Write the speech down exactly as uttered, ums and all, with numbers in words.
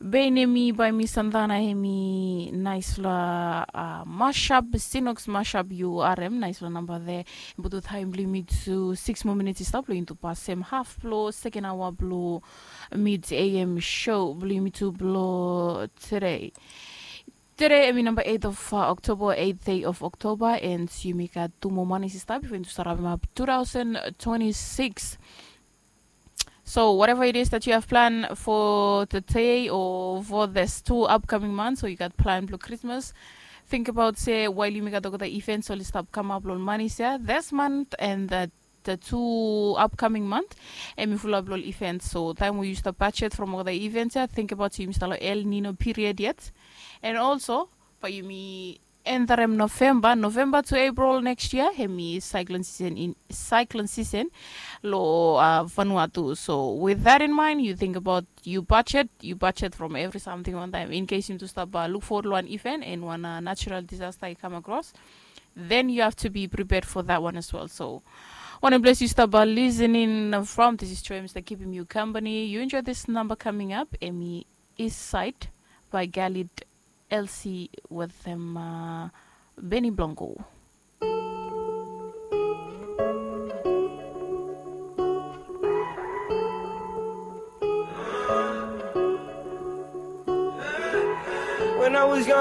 Bae nemi bae mi santana hemi naisfala mashap sinoks mashap yu arem naisfala namba de. Butu taim blong yumi tu siks moa minits i stap long yumi tu pasem haf blong seken aoa blong mid am show blong yumi tu blong tude. Tude hemi namba eit of oktoba, eit dei of oktoba, and yumi gat tu moa manis i stap bifo yumi tu stap rapim ap tu taosen twenti siks. So whatever it is that you have planned for today or for this two upcoming months, or you got plan blong Krismas, think about se wael yumi gat olgeta events oli stap kamap long manis ya this month and the the two upcoming month, em i fulap long events. So taim we yu stap budget from olgeta events ya, think about yumi stap long El Nino period yet. And also bae yumi enterem Novemba, Novemba to April next year, hemi cyclone season in cyclone season lo uh, Vanuatu. So with that in mind, you think about you budget, you budget from every something one time in case you to stop uh, look forward one event and one uh, natural disaster you come across, then you have to be prepared for that one as well. So one bless you stop uh, listening from this is Troy Mister keeping you company. You enjoy this number coming up, Emmy East Side by Galid L C with them uh, Benny Blanco. When I was young,